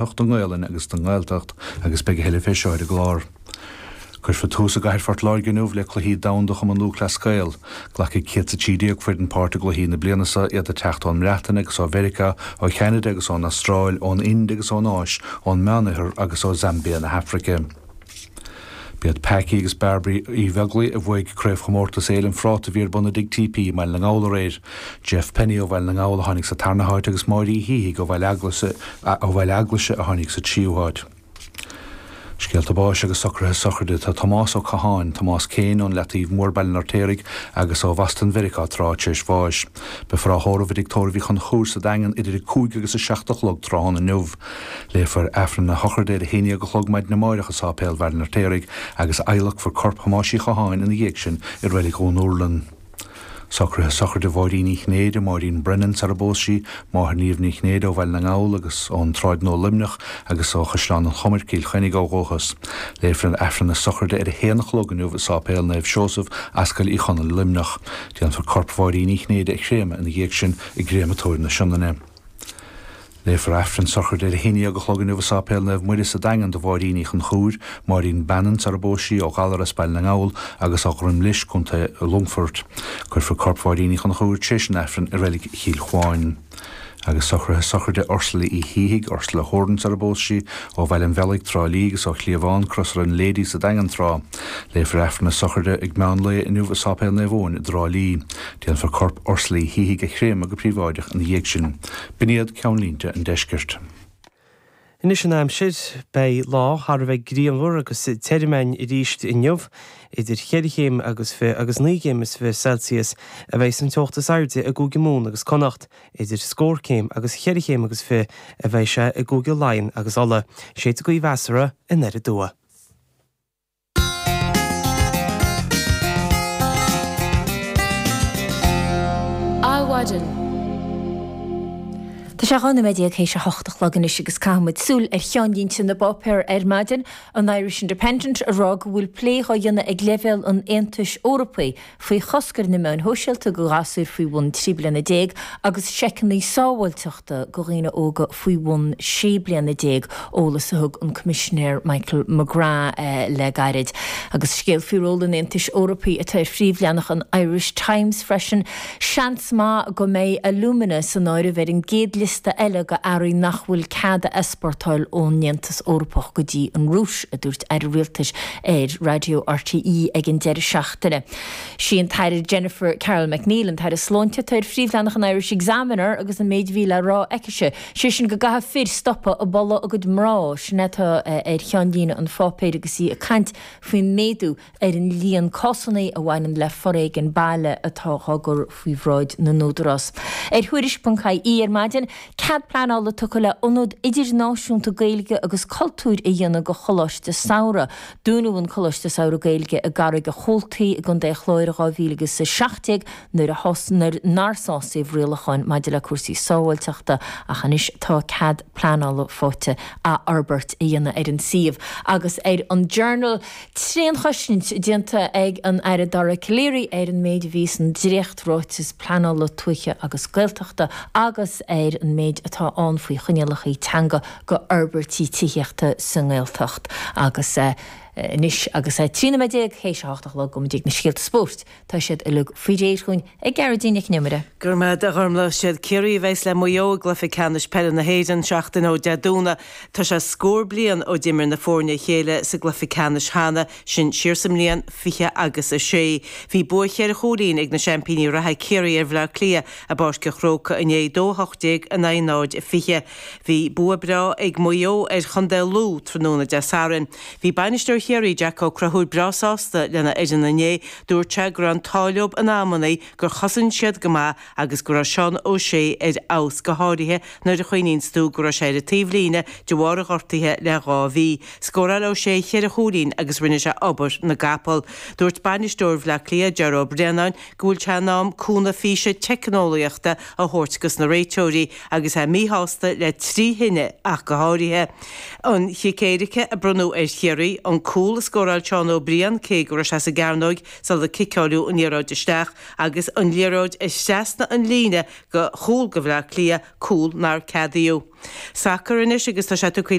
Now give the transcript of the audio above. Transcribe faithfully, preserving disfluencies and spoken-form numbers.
don nGaelainn agus don nGaeltacht agus beidh a thuilleadh fé seo ar an gclár. Cuirfear tús i gcathair Phort Láirge inniu le Cluichí Domhanda Chumann Lúthchleas Gael. Glacfaidh céad is a trí déag foireann páirt i gcluichí na bliana seo, iad ag teacht ón mBreatain agus ó Mheiriceá, ó Cheanada agus ón Astráil, ón Ind agus ón Áis, ón Meánoirthear agus ó Zambia na hAfraice. B'iad Packie agus Bairbre Uí Bheaglaoich a bhuaigh Craobhchomórtas Fhéile an Phráta a bhí ar bun i dTigh TP i mBaile na nGall aréir. Jeff Penny ó Bhaile na nGall a tháinig sa tarna háit agus Máire Uí Shíthigh ó Bhaile Eaglaise a tháinig sa tríú háit. Scéalta báis agus socruithe sochraide Tá Tomás Ó Catháin, Tomás Kane, ón Leataobh Mór, Baile an Fheirtéaraigh, agus ó Bhoston Mheiriceá tráth tar éis bháis. Beifear á thórramh i dTigh Tórraimh Uí Chonchúir sa Daingean idir a cúig agus a seacht a chlog tráthnóna inniu. Léifear Aifreann na sochraide ar a haon déag a chlog maidin amárach i Sáipéal Bhaile an Fheirtéaraigh agus adhlacfar corp Thomáis Uí Chatháin ina dhiaidh sin i Reilig Dhún Úrlann. Socruithe sochraide Mháirín Uí Chinnéide, Máirín Brennan sar a bpós sí, máthair Niamh Ní Chinnéide ó Bhaile na nGall agus ón tSráid Nua Luimneach agus ó Chaisleán an Chomair, Cill Chainnigh ó dhúchas. Léifear an Aifreann na sochraide ar a haon a chlog inniu i Sáipéal Naomh Seosamh, Ascaill Uí Chonaill, Luimneach. Déanfar corp Mháirín Uí Chinnéide a chréamadh ina dhiaidh sin i gCréamatóir na Sionainne. Léifear Aifreann sochraide ar a haon déag a chlog inniu i Sáipéal Naomh Muire sa Daingean do Mháirín Uí Chonchúir, Máirín Bannon sar a bpós sí, ó Ghallaras as Baile na nGall agus ó Dhroim Lis, Contae Longfoirt. Cuirfear corp Mháirín Uí Chonchúir tar éis an Aifrinn i Reilig Chill Chuáin. Agus socruithe sochraide Ursula Uí Shíthigh, Ursula Horan sar a bpós sí, ó Bhaile an Bhealaigh, Trá Lí agus ó Chliabhán, Crosaire na Ladies sa Daingean tráth. Léifear Aifreann na sochraide ag meán lae inniu i Sáipéal Naomh Eoin i dTrá Lí. Déanfar corp Ursula Uí Shíthigh a chréamadh go príobháideach ina dhiaidh sin. B'in iad ceannlínte an deiscirt. Anois an aimsir, beidh lá thar a bheith grianmhar agus tirim againn arís inniu, idir cheithre chéim agus fiche agus naoi gcéim is fiche Celsius a bheidh san teocht is airde i gCúige Mumhan agus Connacht, idir scór céim agus cheithre chéim agus fiche a bheidh sé i gCúige Laighean agus Uladh. Séidfidh gaoth mheasartha anoir aduaidh. Adhmhaidin. Tá sé dhá nóiméad déag théis a hocht a chlog anois agus caithfidh muid súil ar cheannlínte na bpáipéar ar maidin, an Irish Independent a rá go bhfuil plé dhá dhéanamh ag leibhéal an Aontais Eorpaigh faoi chosc ar na meáin shóisialta go ghasúir faoi bhun trí bliana déag agus seiceanna sábháilteachta go dhaoine óga faoi bhun sé bliana déag, eolas a thug an Coimisinéir Michael McGrath le gairid. Agus scéal faoi ról an Aontais Eorpaigh atá ar phríomhleathanach an Irish Times freisin. Seans maith go mbeidh alumina san áireamh ar an gcéad liosta eile go earraí nach bhfuil cead a easpórtáil ón Aontas Eorpach go dtí an Rúis, a dúirt Aire Rialtais ar Raidió RTÉ ag an deireadh seachtaine. Sí an tAire Jennifer Carroll MacNeill, an tAire Sláinte, atá ar phríomhleathanach an Irish Examiner agus an méid a bhí le rá aicise, sé sin go gcaithfidh fir stopadh ag boladh a gcuid mná, sin atá ar cheannlíne an pháipéir agus í ag caint faoin méadú ar an líon cásanna a bhaineann le foréigean baile atá á gcur faoi bhráid na n-údarás. Ar Thuairisc ponc IE ar maidin, cead pleanála tugtha le ionad idirnáisiúnta Gaeilge agus cultúir a dhéanamh go Choláiste Samhraidh. Dúnadh an Coláiste Samhraidh Gaeilge i gCarraig a' Chóiltigh i gContae Chláir i dhá mhíle agus a seacht déag nuair a nuair nár sásaíodh rialacháin maidir le cúrsaí sábháilteachta ach anois tá cead pleanála faighte athfhorbairt a dhéanamh ar an suíomh agus ar an Journal. Tréanchosaint déanta ag an Aire Dara Calleary ar an méid a bhí san dréacht-ráiteas pleanála tuaithe agus Gaeltachta agus ar an méid atá ann faoi choinníollacha teanga go fhorbairtí tithíochta sa nGaeltacht. Agus anois agus é trí nóiméad déag théis a hocht a chlog, gabhfaidh muid chuig na scéalta spóirt. Tá siad uilig faoi réir chugainn ag Gearóidín Nic Con Iomaire. Go raibh maith agat a Ghormlaith. Siad Ciarraí a bheas le Maigh Eo i gcluiche ceannais peile na hÉireann seachtain ó Dé Domhnaigh. Tá sé scór bliain ó d'imir na foirne a chéile sa gcluiche ceannais cheana, sin siar sa mbliain fiche agus a sé. Bhí bua cheithre chúilín ag na seaimpíní reatha Ciarraí ar Bhleá Cliath i bPáirc an Chrócaigh inné, dó a hocht déag in aghaidh náid a fiche. Bhí bua breá ag Maigh Eo ar chontae Lú tráthnóna Dé Sathairn. Bhí bainisteoir Chiarraí, Jack Ó Conchúir breá sásta lena fhoireann inné. Dúirt sé go raibh an t-ádh leo in amannaí, gur chosain siad go maith agus go raibh Seán O'Shea ar fheabhas, go háirithe nuair a chuimhníonns tú go raibh sé ar an taobhlíne de bharr a ghortaithe le dhá mhí. Scóráil O'Shea cheithre chúilín agus rinne sé obair na gcapall. Dúirt bainisteoir Bhleá Cliath, Ger Ó Braonáin, go bhfuil sé in am cúnamh físe teicneolaíochta a thabhairt dos na réiteoirí agus é míshásta le trí chinneadh ach go háirithe. An chic éirice a bronnadh ar Chiarraí, an cúl Cúl a scóráil Seán Ó Briain cé go raibh sé sa gcearnóig sular ciceáileadh an liathróid isteach agus an liathróid trasna an líne go chúl go Bhleá Cliath, cúl nár ceadaíodh. Sacar anois agus tá sé tugtha